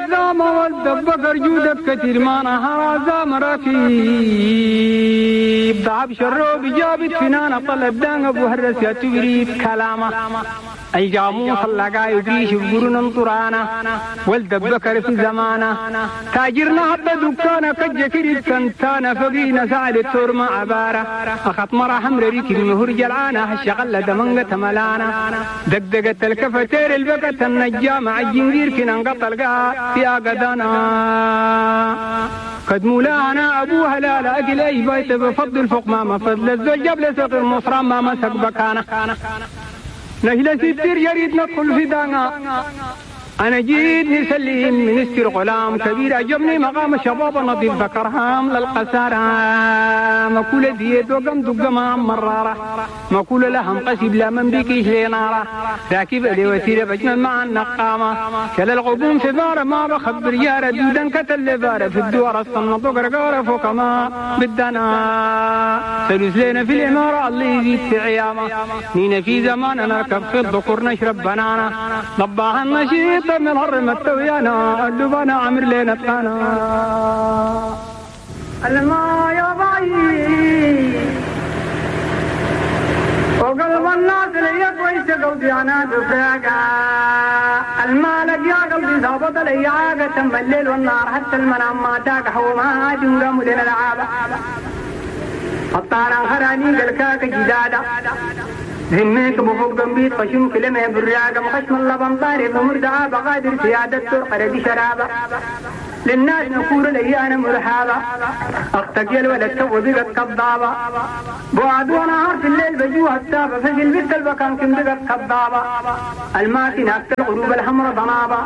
الزامة والدبكر جودك كتير ما نهار زام ركيب ضعب شروب جابت فنانة طلب دان أبو هرس يا تبريد كلامه الجاموس اللقا يدريش بقرن طرانا والدبكر في زمانه تاجرنا حتى دكانه كجكري سنتانا فقينا سعد التور مع عبارة أخط مرة حمر ريك المهر جلعانة الشغلة دمنقة ملانا دقدقة الكفتير البقة النجامة عالجنجير كنا انقطع القاع في أقدانا قد مولانا أبوها لا لا أكل أي بيت بفضل فوق ما فضل الزوج جبل سقي المصرى ما مسك بكانه نهلا ستير يريد ندخل في دانا أنا جيت نسلم منستر غلام كبير عجبني مقام الشباب النظيف ذكرهام للقسارة مكولة ديت وقم دقما مرارة مكولة لهم قسب لا من بكيش لنارة راكب لي وسيلة بجمل مع النقامة كلا الغبون في بارة ما بخبر يارة دودا كتل بارة في الدوار الصنط وقرقارة فوق ما بدنا سلوس لنا في الإمارة اللي يزيد في عيامة نينا في زمان نركب في الذكور نشرب بنانا ضباها النشيط من هرم التويانا اللبانا عمر لنا تانا الما يا باي وقلب الناس لي كويس قلبي انا دفاقا المالك يا قلبي ظابط لي عاقة تم الليل والنهار حتى المنام ما تاك حوما هاجم لنا العابة الطارا خراني قلكاك جدادا ذميك بفوق جنبي خشم كلمة بالراقة مخشم اللبن ضارب مردعة بقادر سيادة ترقر دي شرابة للناس نقول لي أنا مرحابة أختك يا الولد تو بقت كضابة بعد ونهار في الليل بجوها التابة فجل البت البكان كم بقت كضابة الماكنة الغروب الحمر ضنابة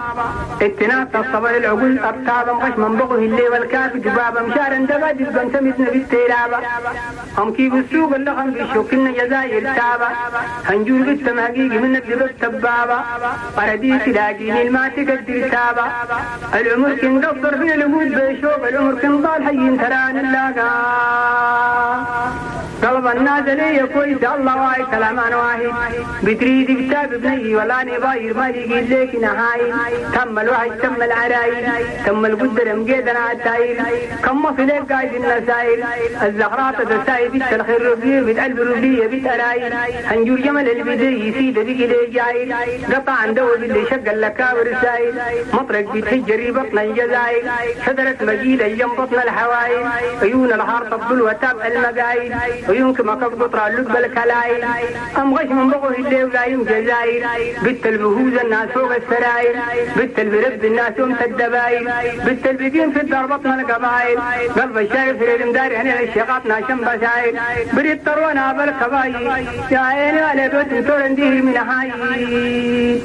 اتنات الصبر العقول أبتابة مخشم بغه الليل والكاف جبابة مشارا دبا جبا سمتنا بالتيرابة هم كيف السوق اللغم بيشوكلنا جزائر تابة هنجور قدام حقيقي منك لبس تبابة قرديس لاقيني الماتك الدرتابة العمر كن قصر في الوجود بيشوف العمر كن ضال حي تران اللاقا قلب الناس لي كويس الله واحد كلام انا واحد بتريد كتاب بني ولا نباير ما يجي لك نهاي تم الوحي تم العرايل تم القدر مقيدنا التايل كم في لك قايد النسايل الزهرات تسايل بيت الخير ربيه بيت قلب ربيه بيت ارايل هنجور جمل البدي يسيد بيك لي جايل قطع عنده باللي شق اللكاور السايل مطرق بيتهجري بطن الجزايل شجرة مجيد ايام بطن الحوايل عيون الحار تبدل وتابع المقايل ويمكن ما قطر اللب الكلايل أم غش من بغه الليل ولا يوم جزايل بت البهوز الناس فوق السرايل بت البرب الناس يوم الدبايل بت البقين في الدار بطن القبايل قلب الشارف في المدار هنا الشقاط ناشم بسايل بريد طرونا بالكبايل يا عيني على بيت تورنديه من هاي.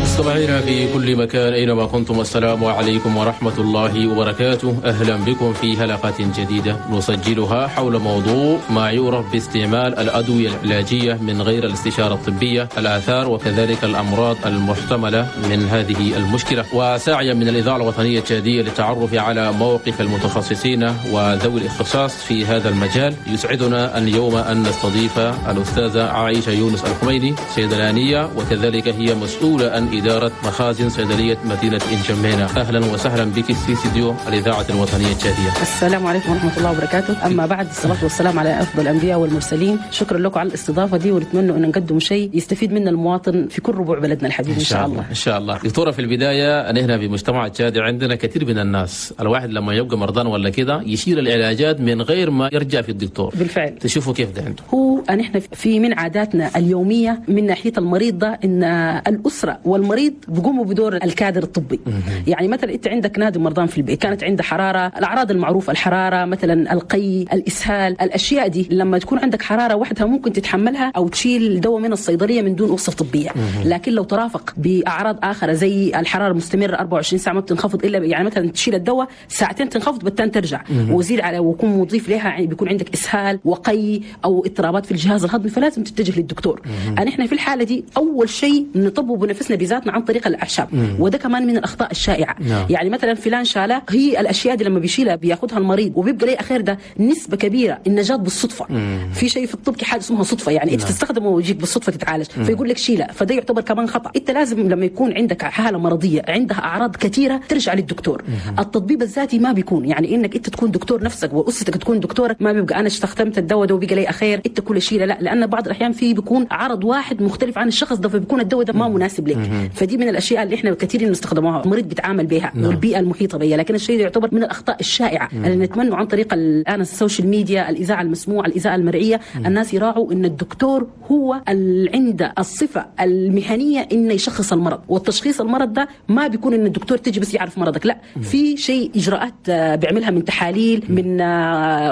مستمعينا في كل مكان أينما كنتم، السلام عليكم ورحمة الله وبركاته. أهلا بكم في حلقة جديدة نسجلها حول موضوع ما يعرف باستعمال الأدوية العلاجية من غير الاستشارة الطبية، الآثار وكذلك الأمراض المحتملة من هذه المشكلة. وسعيا من الإذاعة الوطنية التشادية للتعرف على موقف المتخصصين وذوي الاختصاص في هذا المجال، يسعدنا اليوم أن نستضيف الأستاذة عائشة يونس الخميني، صيدلانية وكذلك هي مسؤولة عن إدارة مخازن صيدلية مدينة إنجمينا. أهلا وسهلا بك في استديو الإذاعة الوطنية التشادية. السلام عليكم ورحمة الله وبركاته. أما بعد، الصلاة والسلام على أفضل الأنبياء والمرسلين. شكرا لكم على الاستضافة دي، ونتمنى أن نقدم شيء يستفيد منه المواطن في كل ربوع بلدنا الحبيب إن شاء الله. إن شاء الله. دكتورة، في البداية نحن في مجتمع التشادي عندنا كثير من الناس، الواحد لما يبقى مرضان ولا كده يشيل العلاجات من غير ما يرجع في الدكتور. بالفعل. تشوفوا كيف ده عنده. هو نحن في من عاداتنا اليومية من ناحية المريض ده إن الأسرة والمريض بيقوموا بدور الكادر الطبي. يعني مثلا انت عندك نادي مرضان في البيت، كانت عنده حرارة، الاعراض المعروفة الحرارة مثلا، القي، الاسهال، الاشياء دي لما تكون عندك حرارة وحدها ممكن تتحملها او تشيل دواء من الصيدلية من دون وصفه طبية. لكن لو ترافق باعراض اخرى زي الحرارة المستمرة 24 ساعة ما بتنخفض الا يعني مثلا تشيل الدواء ساعتين تنخفض بالتالي ترجع، وزيد على ويكون مضيف لها يعني بيكون عندك اسهال وقي او اضطرابات في الجهاز الهضمي فلازم تتجه للدكتور. احنا في الحالة دي اول شيء نطبب نفسنا بذاتنا عن طريق الاعشاب، وده كمان من الاخطاء الشائعة. يعني مثلا فلان شاله، هي الاشياء دي لما بيشيلها بياخذها المريض وبيبقى ليه اخير ده نسبه كبيرة النجاة بالصدفة. في شيء في الطب حاجة اسمها صدفة، يعني انت تستخدمه ويجيك بالصدفة تتعالج، فيقول لك شيله، فده يعتبر كمان خطا. انت لازم لما يكون عندك حاله مرضية عندها اعراض كثيرة ترجع للدكتور. التطبيب الذاتي ما بيكون يعني انك انت تكون دكتور نفسك واسرتك تكون دكتورك، ما بيبقى انا استخدمت الدواء ده وبقى لي اخير انت كل شيله، لا، لان بعض الاحيان في بيكون عرض واحد مختلف عن الشخص ده، فبيكون الدواء ده ما مناسب لك. فدي من الاشياء اللي احنا كثير نستخدموها، المريض بيتعامل بها والبيئة المحيطة بها. لكن الشيء ده يعتبر من الاخطاء الشائعة اللي نتمنى عن طريق الان ال social media، الاذاعة المسموعة، الاذاعة المرئية، الناس يراعوا ان الدكتور هو اللي عنده الصفة المهنية انه يشخص المرض، والتشخيص المرض ده ما بيكون ان الدكتور تجي بس يعرف مرضك، لا، في شيء اجراءات بيعملها من تحاليل، من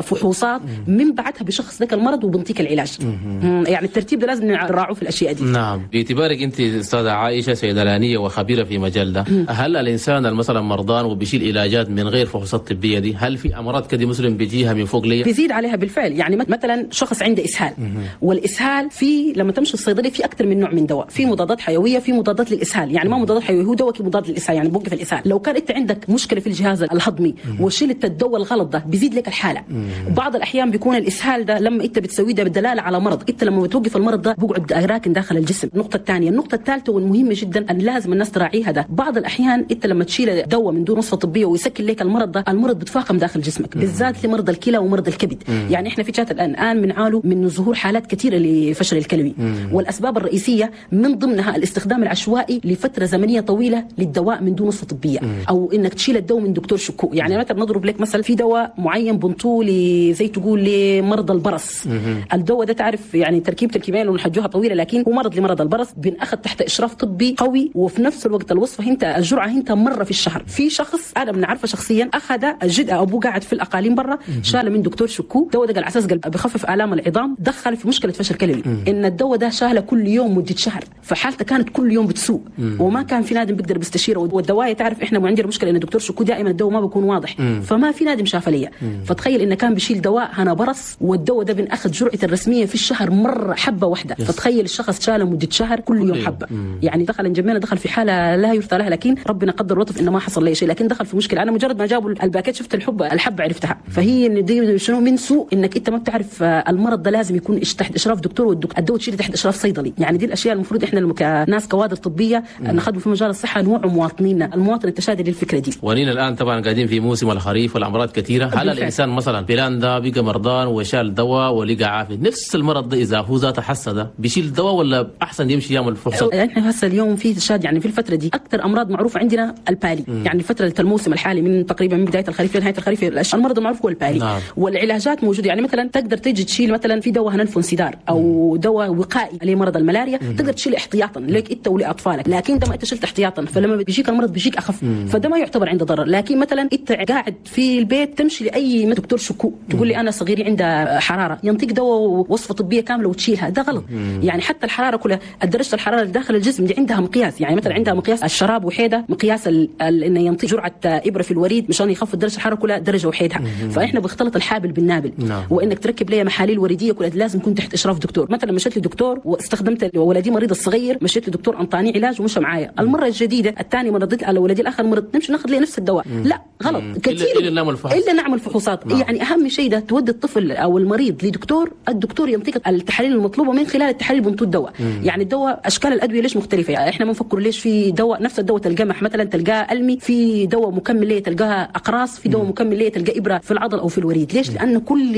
فحوصات، من بعدها بيشخص لك المرض وبنطيك العلاج. يعني الترتيب ده لازم نراعوه في الاشياء دي. نعم، باعتبارك انت استاذه عائشة صيدلانيه وخبيره في مجال ده، هل الانسان مثلا مرضان وبيشيل علاجات من غير فحوصات طبية دي، هل في امراض كده مثلا بيجيها من فوق ليه؟ بيزيد عليها بالفعل. يعني مثلا شخص عنده اسهال، والاسهال في لما تمشي الصيدلية في اكثر من نوع من دواء، في مضادات حيوية، في مضادات للاسهال، يعني ما مضادات حيوية هو دواء مضاد للاسهال، يعني بوقف الاسهال. لو كان انت عندك مشكلة في الجهاز الهضمي وشلت الدواء الغلط ده بيزيد لك الحالة. بعض الاحيان بيكون الاسهال ده لما انت بتسويه ده بدلالة على مرض، انت لما بتوقف المرض ده بيقعد راكن داخل الجسم. النقطة الثانية، النقطة الثالثة والمهمه جدا ان لازم الناس تراعيها ده، بعض الاحيان انت لما تشيل دواء من دون وصفه طبية ويسكن لك المرض ده، المرض بيتفاقم داخل جسمك، بالذات لمرضى الكلى ومرضى الكبد. يعني احنا في شات الان بنعانوا من ظهور حالات كثيرة لفشل الكلوي، والاسباب الرئيسية من ضمنها الاستخدام العشوائي لفترة زمنية طويلة للدواء من دون وصفه طبية، او انك تشيل الدواء من دكتور شكو. يعني مثلا نضرب لك مثلا في دواء معين بنطوه زي تقول لمرضى البرص. الدواء ده تعرف يعني تركيبه الكيميائية اللي نحجوها طويلة، لكن هو مرض لمرضى البرص بنأخذ تحت اشراف طبي قوي، وفي نفس الوقت الوصفة انت الجرعة انت مرة في الشهر. في شخص انا بنعرفه شخصيا اخذ الجد ابوه قاعد في الاقاليم برا، شال من دكتور شكو دواء ده على اساس قال بخفف الام العظام، دخل في مشكلة فشل كلوي. ان الدواء ده شاله كل يوم مده شهر، فحالته كانت كل يوم بتسوء، وما كان في نادم بيقدر بيستشيره. والدواء تعرف احنا عندنا مشكلة ان الدكتور شكو دائما الدواء ما بيكون واضح، فما في نادم شاف ليا. فتخيل انه كان بيشيل دواء هنا برص، والدواء ده بنأخذ جرعته الرسمية في الشهر مرة حبه واحدة. فتخيل الشخص شاله مده شهر كل يوم حبه. يعني دخل جميلة، دخل في حاله لا يرثى لها، لكن ربنا قدر لطف انه ما حصل لي شيء، لكن دخل في مشكلة. انا مجرد ما جابوا الباكيت شفت الحبة عرفتها. فهي ان دي شنو من سوء انك انت ما بتعرف المرض ده لازم يكون تحت اشراف دكتور، والدواء تشيله تحت اشراف صيدلي. يعني دي الاشياء المفروض احنا كناس كوادر طبية نخدم في مجال الصحة نوعوا مواطنينا، المواطن التشادي للفكرة دي. ونينا الان طبعا قاعدين في موسم الخريف والامراض كثيرة، هل الانسان مثلا فلان ده بقى مرضان وشال دواء ولقى عافية، نفس المرض ده اذا هو ذاته حس ده بيشيل دواء ولا احسن يمشي يعمل فحوصات؟ احنا هسه اليوم في تشاد، يعني في الفترة دي اكثر امراض معروفة عندنا البالي. يعني الفترة الموسم الحالي من تقريبا من بداية الخريف لنهاية الخريف المرض المعروف هو البالي. نعم. والعلاجات موجودة، يعني مثلا تقدر تيجي تشيل مثلا في دواء هننفونسيدار او دواء وقائي لمرض الملاريا، تقدر تشيل احتياطا لك انت ولاطفالك، لكن ده ما انت شلت احتياطا فلما بيجيك المرض بيجيك اخف، فده ما يعتبر عنده ضرر. لكن مثلا انت قاعد في البيت تمشي لاي دكتور شكو تقول لي انا صغيري عنده حرارة، ينطيك دواء وصفه طبية كاملة وتشيلها، ده غلط. يعني حتى الحرارة كلها درجه الحرارة اللي داخل الجسم دي عندها مقياس، يعني مثلا عندها مقياس الشراب وحيده، مقياس انه ينطي جرعة ابره في الوريد مشان يخفض درجه الحرارة كلها درجه وحيدها. فاحنا بنختلط الحابل بالنابل. وانك تركب لي محاليل وريديه كلها لازم يكون تحت اشراف دكتور. مثلا مشيت لدكتور واستخدمت ولدي مريض الصغير، مشيت لدكتور انطاني علاج ومشى معايا. المرة الجديدة الثانية مرضت على ولدي الاخر مرض، نمشي ناخذ لي نفس الدواء. لا غلط كثير، الا نعمل فحوصات. يعني اهم شيء ده تودي الطفل او المريض لدكتور، الدكتور ينطيك التحاليل المطلوبة من خلال التحاليل بنطو الدواء. يعني الدواء اشكال الادوية ليش مختلفة؟ يعني احنا ما نفكر ليش في دواء نفس الدواء تلقاه مثلا تلقاه المي، في دواء مكمل ليه تلقاها اقراص، في دواء مكمل ليه تلقاه ابره في العضل او في الوريد. ليش؟ لان كل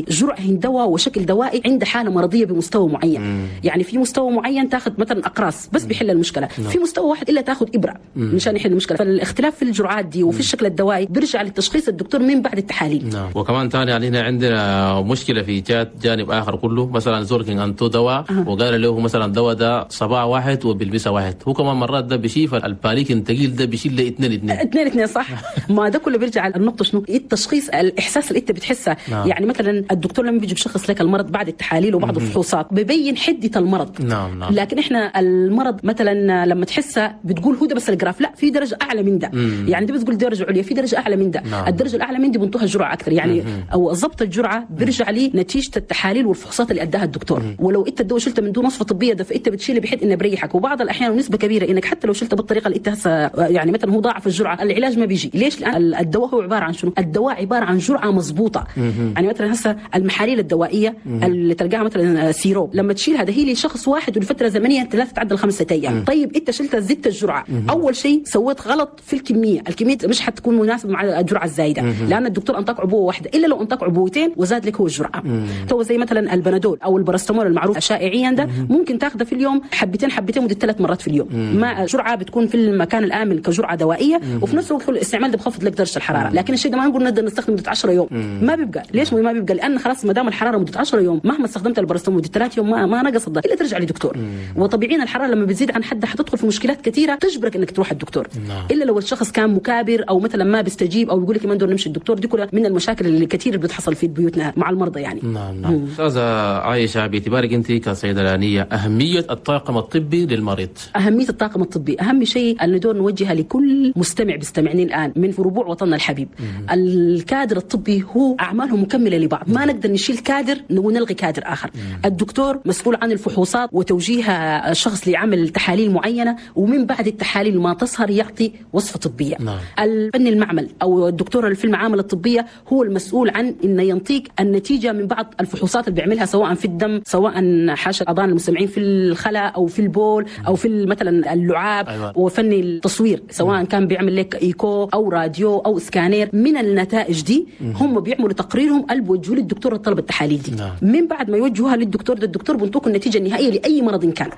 جرعة دواء وشكل دوائي عنده حاله مرضية بمستوى معين. يعني في مستوى معين تاخذ مثلا اقراص بس بيحل المشكلة، في مستوى واحد الا تاخذ ابره مشان يحل المشكلة. فالاختلاف في الجرعات دي وفي الشكل الدوائي بيرجع للتشخيص الدكتور من بعد التحاليل. وكمان ثاني يعني هنا عندنا مشكلة في جانب اخر كله، مثلا زوركين انتو دواء وقال له مثلا دواء ده صباع واحد وبالمسا واحد، هو كمان مرات ده بيشيف الباليك الثقيل ده بيشيل له 2 2 2 صح. ما ده كله بيرجع على النقطة شنو التشخيص، الاحساس اللي انت بتحسه. يعني مثلا الدكتور لما بيجي بشخص لك المرض بعد التحاليل وبعض الفحوصات ببين حده المرض. نعم. لكن احنا المرض مثلا لما تحسه بتقول هو ده بس ال grave، لا في درجه اعلى من ده. يعني دي بتقول درجه عليا، في درجه اعلى من ده. الدرجة الاعلى من دي بنطوها جرعة اكثر، يعني او ضبط الجرعة بيرجع لي نتيجة التحاليل والفحوصات. والفحوصات اللي اداها الدكتور. ولو انت الدواء شلته من دون وصفه طبية ده فانت بتشيله بحيث انه بريحك، وبعض الاحيان ونسبه كبيرة انك حتى لو شلته بالطريقة اللي انت هسه يعني مثلا هو ضاعف الجرعة العلاج ما بيجي. ليش؟ لان الدواء هو عبارة عن شنو؟ الدواء عبارة عن جرعة مضبوطة. يعني مثلا هسه المحاليل الدوائية اللي تلقاها مثلا سيروب لما تشيلها ده هي لشخص واحد ولفترة زمنية لا تتعدى 5 ايام. طيب انت شلتها زدت الجرعة، اول شيء سويت غلط في الكمية، الكمية مش حتكون مناسبة مع الجرعة الزايدة لان الدكتور انطاك عبوة واحدة، الا لو انطاك عبوتين وزاد لك هو الجرعة. تو زي مثلا البنادول او البارستامول المعروف شائعيا ده ممكن تاخذه في اليوم حبتين حبتين مده 3 مرات في اليوم، مع جرعة بتكون في المكان الامن كجرعه دوائيه، وفي نفس الوقت الاستعمال ده بخفض لك درجه الحرارة. لكن الشيء ده ما نقول نقدر نستخدمه مده 10 يوم، ما بيبقى. ليش ما بيبقى؟ لان خلاص ما دام الحرارة مده 10 يوم مهما استخدمت البارستامول مده 3 يوم ما نقص ده الا ترجع لدكتور. وطبيعيا الحرارة لما بتزيد عن حدها حتدخل في مشكلات كثيرة تجبرك انك تروح الدكتور. الا لو الشخص كان مكابر او مثلا ما بيستجيب او بيقول لك ما ندور نمشي الدكتور. دي كلها من المشاكل اللي كثير بتحصل في بيوتنا مع المرضى يعني. نعم نعم. استاذه عائشة، باعتبارك انت كصيدلانيه، اهمية الطاقم الطبي للمريض. اهمية الطاقم الطبي اهم شيء اللي ندور نوجهها لكل مستمع بيستمعني الان من ربوع وطننا الحبيب. الكادر الطبي هو اعماله مكملة لبعض، ما نقدر نشيل كادر ونلغي كادر اخر. الدكتور مسؤول عن الفحوصات وتوجيه الشخص لعمل تحاليل معينة، ومن بعد التحاليل ما تظهر يعطي وصفه طبية. الفني المعمل او الدكتور اللي في المعامل الطبية هو المسؤول عن انه ينطيك النتيجة من بعض الفحوصات اللي بيعملها، سواء في الدم، سواء حاشا الاذان المستمعين في الخلاء او في البول او في مثلا اللعاب. أيوة. وفني التصوير سواء كان بيعمل لك ايكو او راديو او سكانير. من النتائج دي هم بيعملوا تقريرهم اللي بيوجهوه للدكتور الطلب التحاليل دي. من بعد ما يوجهوها للدكتور ده الدكتور بينطوك النتيجة النهائية لاي مرض كان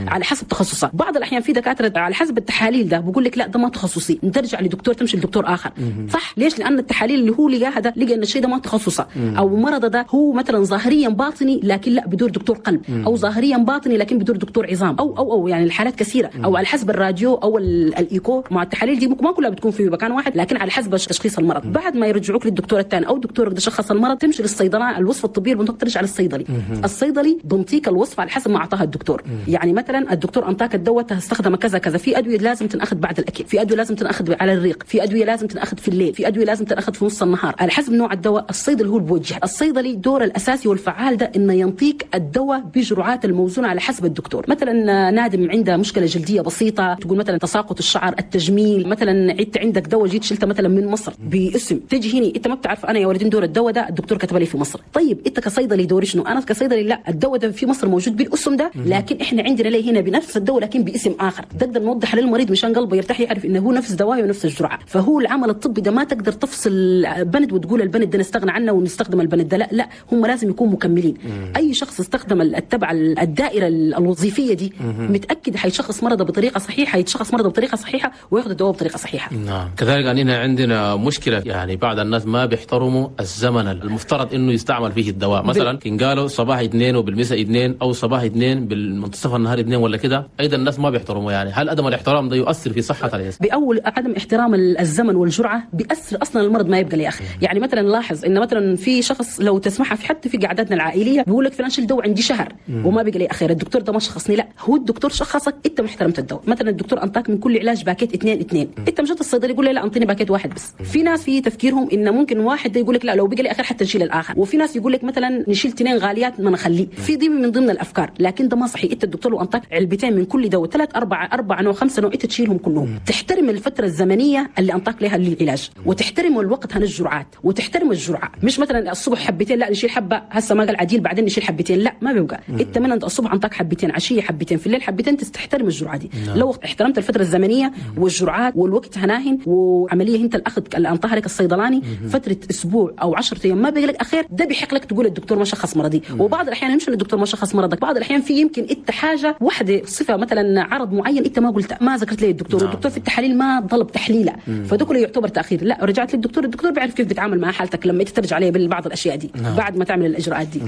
على حسب تخصصه. بعض الاحيان في دكاترة على حسب التحاليل ده بيقول لك لا ده ما تخصصي، ترجع لدكتور، تمشي لدكتور اخر. صح؟ ليش؟ لان التحاليل اللي هو لقاها ده لقى ان الشيء ده ما تخصصه، او مرض ده هو مثلا ظاهريا باطني لكن لا بدور دكتور قلب، او ظاهريا باطني لكن بدور دكتور عظام، او او او يعني الحالات كثيرة، او على حسب الراديو او الايكو. مع التحاليل دي ما كلها بتكون في مكان واحد، لكن على حسب تشخيص المرض. بعد ما يرجعوك للدكتور الثاني او دكتورك ده شخص المرض، تمشي للصيدلاني، الوصفة الطبية بنطق ترجع للصيدلي. الصيدلي بنطيك الوصفة على حسب ما اعطاها الدكتور. يعني مثلا الدكتور انطاك الدواء تستخدم كذا كذا، في ادوية لازم تنأخذ بعد الاكل، في ادوية لازم تنأخذ على الريق، في ادوية لازم تنأخذ في الليل، في ادوية لازم تنأخذ في نص النهار، على حسب نوع الدواء الصيدلي هو اللي بوجه. الصيدلي دوره الاساسي والفعال ده انه ينطيك الدواء بجرعات الموزونه على حسب الدكتور. مثلا نادم عنده مشكلة جلدية بسيطة، تقول مثلا تساقط الشعر، التجميل، مثلا انت عندك دواء جيت شلته مثلا من مصر باسم، تجي هنا انت ما بتعرف انا يا ولدين دور الدواء ده الدكتور كتب لي في مصر. طيب انت كصيدلي دوري شنو؟ انا كصيدلي لا، الدواء ده في مصر موجود بالاسم ده، لكن احنا عندنا ليه هنا بنفس الدواء لكن باسم اخر. تقدر نوضح للمريض مشان قلبه يرتاح، يعرف انه هو نفس دواء ونفس الجرعة. فهو العمل الطبي ده ما تقدر تفصل بند وتقول البند ده نستغنى عنه ونستخدم البند ده، لا لا، هم لازم يكونوا مكملين. اي شخص استخدم اتبع الدائرة الوظيفية دي متاكد حيشخص مرضه بطريقة صحيحه، حيتشخص مرضه بطريقة صحيحه وياخذ الدواء بطريقة صحيحه. نعم. كذلك اننا عندنا مشكلة، يعني بعض الناس ما بيحترموا الزمن المفترض انه يستعمل فيه الدواء. مثلا كان قالوا صباح 2 وبالمساء 2 او صباح 2 بالمنتصف النهار 2 ولا كده، ايضا الناس ما بيحترموا. يعني هل عدم الاحترام ده يؤثر في صحة الانسان؟ باول عدم احترام الزمن والجرعه بيأثر اصلا المرض ما يبقى لي اخي. يعني مثلا لاحظ ان مثلا في شخص لو تسمعها في حتى في قعداتنا العائلية بيقول لك فلان شيل دواء عندي شهر وما بقى لي اخير، الدكتور ده ما شخصني. لا، هو الدكتور شخصك، انت ما احترمت الدواء. مثلا الدكتور انطاك من كل علاج باكيت 2 2، انت مشيت الصيدلي يقول لي لا انطيني باكيت واحد بس. في ناس في تفكيرهم ان ممكن واحد ده يقول لك لا لو بقى لي اخير حتى نشيل الاخر، وفي ناس يقول لك مثلا نشيل 2 غاليات ما نخليه. في دي من ضمن الافكار، لكن ده ما صحيح. انت الدكتور لو انطاك علبتين من كل دواء، 3 4 4 نوع 5 نوع، انت تشيلهم كلهم. تحترم الفترة الزمنية اللي انطاك لها للعلاج، وتحترم الوقت هن الجرعات، وتحترم الجرعة. مش مثلا الصبح حبتين لا نشيل حبه هسه ما قال عديل بعدين نشيل حبتين، لا ما بيبقى. انت من الصبح انطاك حبتين، عشية حبتين، في الليل حبتين، تحترم الجرعة دي. لو احترمت الفترة الزمنية والجرعات والوقت هناهن وعملية انت الاخذ اللي انطاها لك الصيدلاني فترة اسبوع او 10 ايام ما بيجي لك اخير، ده بيحق لك تقول الدكتور ما شخص مرضي. وبعض الاحيان مش الدكتور ما شخص مرضك، بعض الاحيان في يمكن انت حاجة واحدة صفة مثلا عرض معين انت ما قلت ما ذكرت لي الدكتور، والدكتور في التحاليل ما طلب تحليله، فده كله يعتبر تاخير. لا، رجعت للدكتور، الدكتور بيعرف كيف بيتعامل مع حالتك لما انت ترجع عليه ببعض الاشياء دي. بعد ما تعمل الاجراءات دي.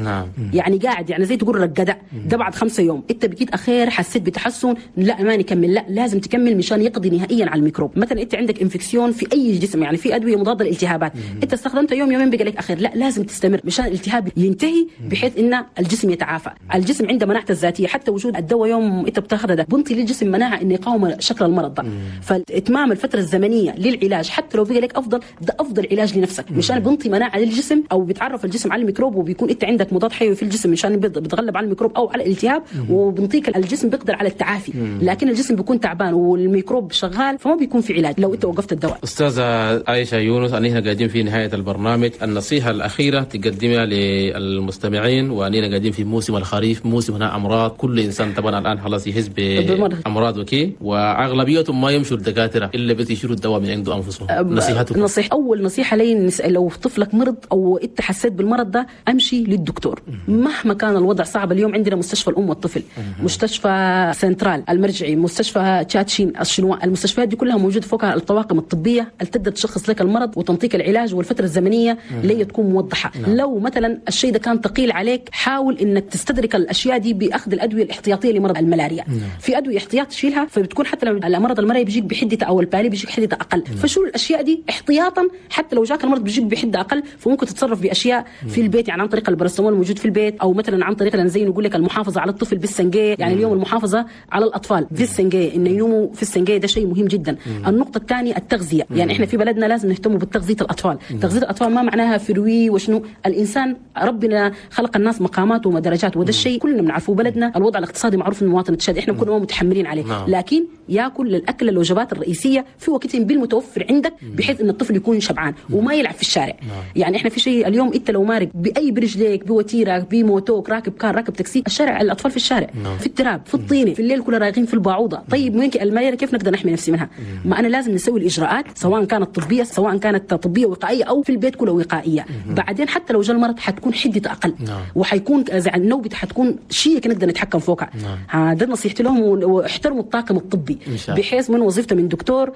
يعني قاعد يعني زي تقول رقده ده بعد 5 يوم انت بقيت اخير حسيت بتحسن، لا ما نكمل، لا لازم تكمل مشان يقضي نهائيا على الميكروب. مثلا انت عندك infection في اي جسم، يعني في ادوية مضادة للالتهابات، انت استخدمتها يوم يومين بقى لك اخير، لا لازم تستمر مشان الالتهاب ينتهي بحيث ان الجسم يتعافى. الجسم عنده مناعته الذاتية، حتى وجود الدواء يوم انت بتاخذه ده بنطي للجسم مناعة انه يقاوم شكل المرض ده. فاتمام الفترة الزمنية للعلاج حتى لو بقى لك افضل، ده افضل علاج لنفسك مشان بنطي مناعة للجسم او بيتعرف الجسم على الميكروب، وبيكون انت عندك عندك مضاد حيوي في الجسم مشان بتغلب على الميكروب او على الالتهاب، وبنطيك الجسم بيقدر على التعافي. لكن الجسم بيكون تعبان والميكروب شغال، فما بيكون في علاج لو انت وقفت الدواء. استاذه عائشة يونس، أننا قاعدين في نهاية البرنامج، النصيحة الاخيرة تقدمها للمستمعين، وأننا قاعدين في موسم الخريف، موسم هنا امراض، كل انسان طبعا الان خلاص يحس بامراض وكي، واغلبيتهم ما يمشوا الدكاترة الا بس يشيلوا الدواء من عنده انفسهم. نصيحتكم؟ نصيحة، اول نصيحة لي، لو طفلك مرض او انت حسيت بالمرض ده امشي للدكتور مهما كان الوضع صعب. اليوم عندنا مستشفى الام والطفل، مستشفى سنترال المرجعي، مستشفى تشاتشين الشنوا، المستشفيات دي كلها موجود فوقها الطواقم الطبية اللي تقدر تشخص لك المرض وتنطيك العلاج، والفترة الزمنية اللي تكون موضحة. لو مثلا الشيء ده كان ثقيل عليك، حاول انك تستدرك الاشياء دي باخذ الادوية الاحتياطيه لمرض الملاريا. في ادوية احتياط تشيلها، فبتكون حتى لو المرض الملاريا بيجيك بحده او ال palu بيجيك حده اقل، فشيل الاشياء دي احتياطا، حتى لو جاك المرض بيجيك بحده اقل، فممكن تتصرف باشياء في البيت، يعني عن طريق الباراسيتامول الموجود في البيت، او مثلا عن طريق زي نقول لك المحافظة على الطفل بالسنجيه. يعني اليوم المحافظة على الاطفال بالسنجيه، انه ينوموا في السنجيه، ده شيء مهم جدا. النقطة الثانية التغذية، يعني احنا في بلدنا لازم نهتم بالتغذية الاطفال. تغذية الاطفال ما معناها fruits وشنو، الانسان ربنا خلق الناس مقامات ودرجات، وده الشيء كلنا بنعرفه. بلدنا الوضع الاقتصادي معروف المواطن التشادي، احنا كنا متحملين عليه، لكن ياكل الاكل الوجبات الرئيسية في وقتهم بالمتوفر عندك، بحيث ان الطفل يكون شبعان وما يلعب في الشارع. يعني احنا في شيء اليوم انت لو مارق باي برجليك، بوتيرك، بموتوك، راكب كار، راكب تاكسي، الشارع الاطفال في الشارع، في التراب، في الطينه، في الليل كلها رايقين في الباعوضه. طيب وين الملاريا كيف نقدر نحمي نفسي منها؟ ما انا لازم نسوي الاجراءات، سواء كانت طبية، سواء كانت طبية وقائيه او في البيت كلها وقائيه. بعدين حتى لو جاء المرض حتكون حدته اقل، وحيكون النوبة حتكون شيء نقدر نتحكم فوقها. هذا نصيحتي لهم، واحترموا الطاقم الطبي، بحيث من وظيفته من دكتور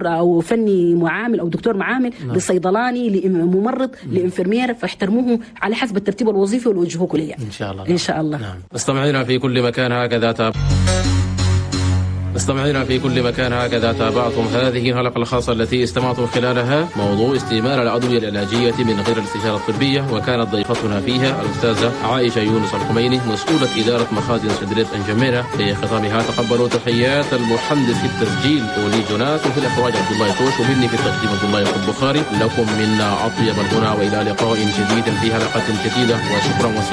او فني معامل او دكتور معامل، لصيدلاني، لممرض، ل infirmière، فاحترموهم على حسب الترتيب الوظيفي والوجهوك ليه. ان شاء الله. ان شاء الله. نعم. مستمعينا في كل مكان هكذا مستمعينا في كل مكان هكذا تابعتم هذه الحلقة الخاصة التي استمعتم خلالها موضوع استعمال الأدوية العلاجية من غير الاستشارة الطبية، وكانت ضيفتنا فيها الأستاذة عائشة يونس الخميني، مسؤولة إدارة مخازن صيدلية أنجمينة. في ختامها تقبلوا تحيات المهندس في التسجيل ولي جوناس، وفي الإخراج عبد الله توش، ومني في التقديم عبد الله البخاري. لكم منا أطيب الغنى، وإلى لقاء جديد في حلقة جديدة، وشكرا وسلام.